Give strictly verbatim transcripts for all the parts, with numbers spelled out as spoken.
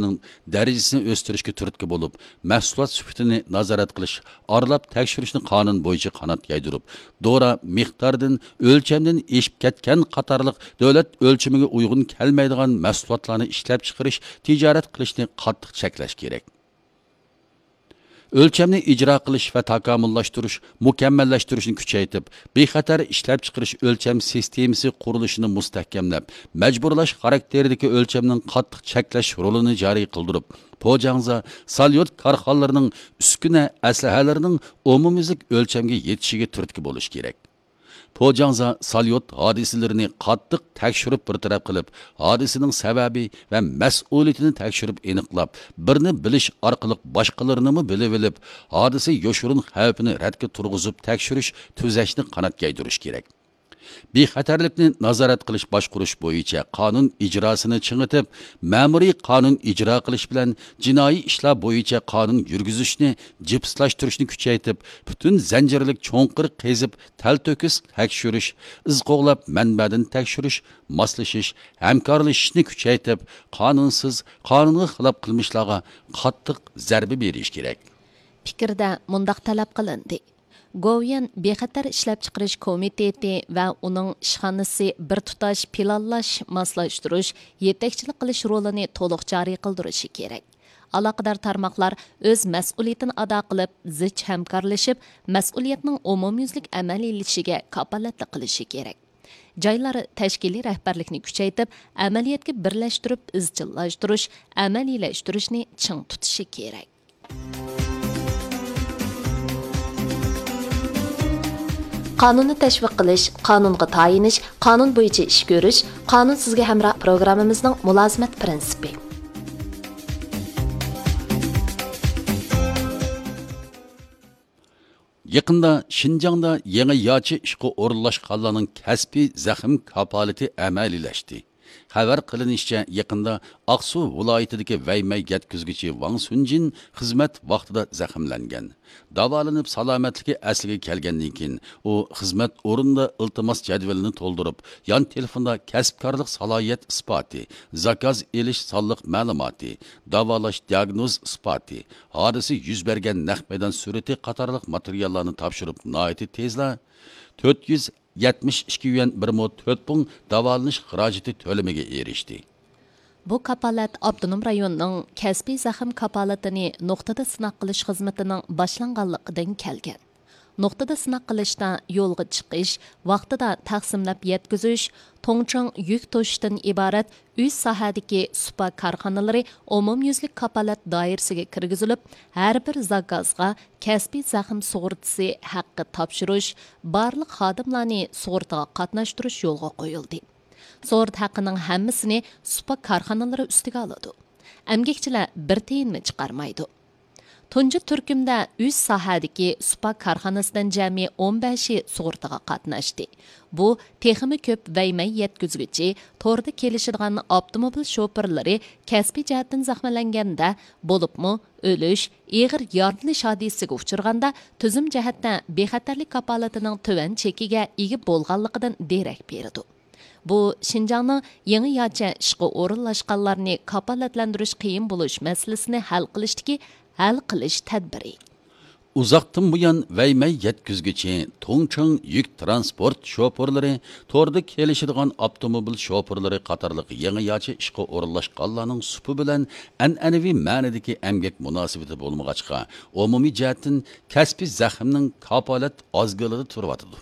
نىڭ دەرىجىسىنى ئۆستۈرۈشكە تۈرتكە بولۇپ، مەھسۇلات سۈپىتىنى نازارەت قىلىش، ئارىلاپ تەكشۈرۈشنى قانۇن بويىچە قانات يايدۇرۇپ، دورا مىقدارىدىن، ئۆلچەمدىن ئېشىپ كەتكەن قاتارلىق دۆلەت ئۆلچىمىگە ئۇيغۇن كەلمەيدىغان مەھسۇلاتلارنى ئىشلەپچىقىرىش، تىجارەت قىلىشنى قاتتىق چەكلەش كېرەك. ئۆلچەمنى ئىجرا قىلىش ۋە تاكامۇللاشتۇرۇش، مۇكەممەللەشتۈرۈشنى كۈچەيتىپ، بىخەتەر ئىشلەپچىقىرىش ئۆلچەم سىستېمىسى قۇرۇلۇشىنى مۇستەھكەملەپ، مەجبۇرلاش خاراكتېرىدىكى ئۆلچەمنىڭ قاتتىق چەكلەش رولىنى جارى قىلدۇرۇپ، پوجاڭزا، ساليۇت كارخانىلىرىنىڭ ئۈسكۈنە ئەسلىھەلىرىنىڭ ئومۇميۈزلۈك ئۆلچەمگە يېتىشىگە تۈرتكە بولۇش كېرەك. پوجاڭزا ساليۇت ھادىسىلىرىنى قاتتىق تەكشۈرۈپ بىر تەرەپ قىلىپ، ھادىسىنىڭ سەۋەبى ۋە مەسئۇلىيىتىنى تەكشۈرۈپ ئېنىقلاپ، بىرنى بىلىش ئارقىلىق باشقىلىرىنىمۇ بىلىۋېلىپ، ھادىسە يوشۇرۇن خەۋپىنى رەتكە تۇرغۇزۇپ تەكشۈرۈش، تۈزەشنى قانات يايدۇرۇش كېرەك. بىخەتەرلىكنى نازارەت قىلىش باشقۇرۇش بويىچە قانۇن ئىجراسىنى چىڭىتىپ، مەمۇرىي قانۇن ئىجرا قىلىش بىلەن جىنايى ئىشلار بويىچە قانۇن يۈرگۈزۈشنى جىپسلاشتۇرۇشنى كۈچەيتىپ، پۈتۈن زەنجىرلىك چوڭقۇر قېزىپ، تەلتۆكۈس تەكشۈرۈش، ئىز قوغلاپ مەنبەدىن تەكشۈرۈش، ماسلىشىش، ھەمكارلىشىشنى كۈچەيتىپ، قانۇنسىز، قانۇنغا خىلاپ قىلمىشلارغا قاتتىق زەربە بېرىش كېرەك. پىكىردە مۇنداق تەلەپ قىلىندى: گوۋۇيۈەن بىخەتەر ئىشلەپچىقىرىش كومىتېتى ۋە ئۇنىڭ ئىشخانىسى بىر تۇتاش پىلانلاش، ماسلاشتۇرۇش، يېتەكچىلىك قىلىش رولىنى تولۇق جارى قىلدۇرۇشى كېرەك. ئالاقىدار تارماقلار ئۆز مەسئۇلىيىتىنى ئادا قىلىپ، زىچ ھەمكارلىشىپ، مەسئۇلىيەتنىڭ ئومۇميۈزلۈك ئەمەلىيلىشىشىگە كاپالەتلىك قىلىشى كېرەك. جايلار تەشكىلىي رەھبەرلىكنى كۈچەيتىپ، ئەمەلىيەتكە بىرلەشتۈرۈپ ئىزچىللاشتۇرۇش، ئەمەلىيلەشتۈرۈشنى چىڭ تۇتۇشى كېرەك. قانۇننى تەشۋىق قىلىش، قانۇنغا تايىنىش، قانۇن بويىچە ئىش كۆرۈش، قانۇن سىزگە ھەمراھ پروگراممىمىزنىڭ مۇلازىمەت پىرىنسىپى. يېقىندا شىنجاڭدا يېڭى ياچى ئىشقا ئورۇنلاشقانلارنىڭ كەسپىي زەخىم كاپالىتى ئەمەلىيلەشتى. خەۋەر قىلىنىشىچە، يېقىندا ئاقسۇ ۋىلايىتىدىكى ۋەيمەي يەتكۈزگۈچى ۋاڭ سۈنجىن خىزمەت ۋاقتىدا زەخىملەنگەن. داۋالىنىپ سالامەتلىكى ئەسلىگە كەلگەندىن كېيىن، ئۇ خىزمەت ئورنىدا ئىلتىماس جەدۋىلىنى تولدۇرۇپ، يان تېلېفوندا كەسىپكارلىق سالاھىيەت ئىسپاتى، زاكاز ئېلىش سانلىق مەلۇماتى، داۋالاش دىئاگنوز ئىسپاتى، ھادىسە يۈز بەرگەن نەق مەيدان سۈرىتى قاتارلىق ماتېرىياللارنى تاپشۇرۇپ، ناھايىتى تېزلا تۆت يۈز يەتمىش ئىككى يۈەن بىر مو تۆت پۇڭ داۋالىنىش خىراجىتى تۆلىمىگە ئېرىشتى. بۇ كاپالەت ئاپتونوم رايوننىڭ كەسپىي زەخىم كاپالىتىنى نۇقتىدا سىناق قىلىش خىزمىتىنىڭ باشلانغانلىقىدىن كەلگەن. نۇقتىدا سىناق قىلىشتا يولغا چىقىش، ۋاقتىدا تەقسىملەپ يەتكۈزۈش، توڭچاڭ يۈك توشۇشتىن ئىبارەت ئۈچ ساھەدىكى سۇپا كارخانىلىرى ئومۇميۈزلۈك كاپالەت دائىرىسىگە كىرگۈزۈلۈپ، ھەر بىر زاكازغا كەسپىي زەخىم سۇغۇرتىسى ھەققى تاپشۇرۇش، بارلىق خادىملارنى سۇغۇرتىغا قاتناشتۇرۇش يولغا قويۇلدى. سۇغۇرتا ھەققىنىڭ ھەممىسىنى سۇپا كارخانىلىرى ئۈستىگە ئالىدۇ. ئەمگەكچىلەر بىر تىيىنمۇ چىقارمايدۇ. تۇنجى تۈركۈمدە ئۈچ ساھەدىكى سۇپا كارخانىسىدىن جەمئىي ئون بەشى سۇغۇرتىغا قاتناشتى. بۇ تېخىمۇ كۆپ ۋەيمەي يەتكۈزگۈچى، توردا كېلىشىدىغان ئاپتوموبىل شوپۇرلىرى كەسپىي جەھەتتىن زەخىملەنگەندە، بولۇپمۇ ئۆلۈش، ئېغىر يارىلىنىش ھادىسىسىگە ئۇچرىغاندا، تۈزۈم جەھەتتە بىخەتەرلىك كاپالىتىنىڭ تۆۋەن چېكىگە ئىگە بولغانلىقىدىن دېرەك بېرىدۇ. بۇ شىنجاڭنىڭ يېڭى ياچە ئىشقا ئورۇنلاشقانلارنى كاپالەتلەندۈرۈش قىيىن بولۇش مەسىلىسىنى ھەل قىلىشتىكى ھەل قىلىش تەدبىرى. ئۇزاقتىن بۇيان ۋەيمەي يەتكۈزگۈچى، توڭچاڭ يۈك تىرانسپورت شوپۇرلىرى، توردا كېلىشىدىغان ئاپتوموبىل شوپۇرلىرى قاتارلىق يېڭى ياچە ئىشقا ئورۇنلاشقانلارنىڭ سۇپا بىلەن ئەنئەنىۋى مەنىدىكى ئەمگەك مۇناسىۋىتى بولمىغاچقا، ئومۇمىي جەھەتتىن كەسپىي زەخىمنىڭ كاپالەت ئازگىلىدا تۇرۇۋاتىدۇ.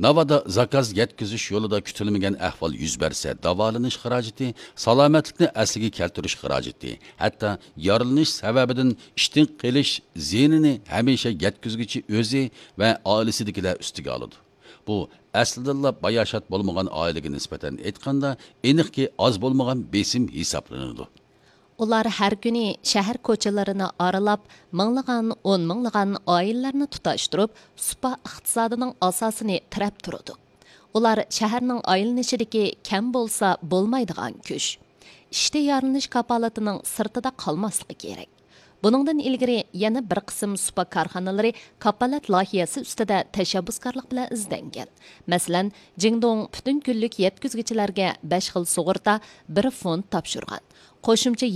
ناۋادا زاكاز يەتكۈزۈش يولىدا كۈتۈلمىگەن ئەھۋال يۈز بەرسە، داۋالىنىش خىراجىتى، سالامەتلىكنى ئەسلىگە كەلتۈرۈش خىراجىتى، ھەتتا يارىلىنىش سەۋەبىدىن ئىشتىن قېلىش زىيىنىنى ھەمىشە يەتكۈزگۈچى ئۆزى ۋە ئائىلىسىدىكىلەر ئۈستىگە ئالىدۇ. بۇ ئەسلىدىنلا باياشات بولمىغان ئائىلىگە نىسبەتەن ئېيتقاندا، ئېنىقكى ئاز بولمىغان بېسىم ھېسابلىنىدۇ. ئۇلار ھەر كۈنى شەھەر كوچىلىرىنى ئارىلاپ، مىڭلىغان، ئون مىڭلىغان ئائىلىلەرنى تۇتاشتۇرۇپ، سۇپا ئىقتىسادىنىڭ ئاساسىنى تىرەپ تۇرىدۇ. ئۇلار شەھەرنىڭ ئايلىنىشىدىكى كەم بولسا بولمايدىغان كۈچ. ئىشتا يارىلىنىش كاپالىتىنىڭ سىرتىدا قالماسلىقى كېرەك. بۇنىڭدىن ئىلگىرى يەنە بىر قىسىم سۇپا كارخانىلىرى كاپالەت لايىھەسى ئۈستىدە تەشەببۇسكارلىق بىلەن ئىزدەنگەن. مەسىلەن، جىڭدۇڭ پۈتۈن كۈنلۈك يەتكۈزگۈچىلەرگە بەش خىل سۇغۇرتا، بىر فوند تاپشۇرغان. قوشۇمچە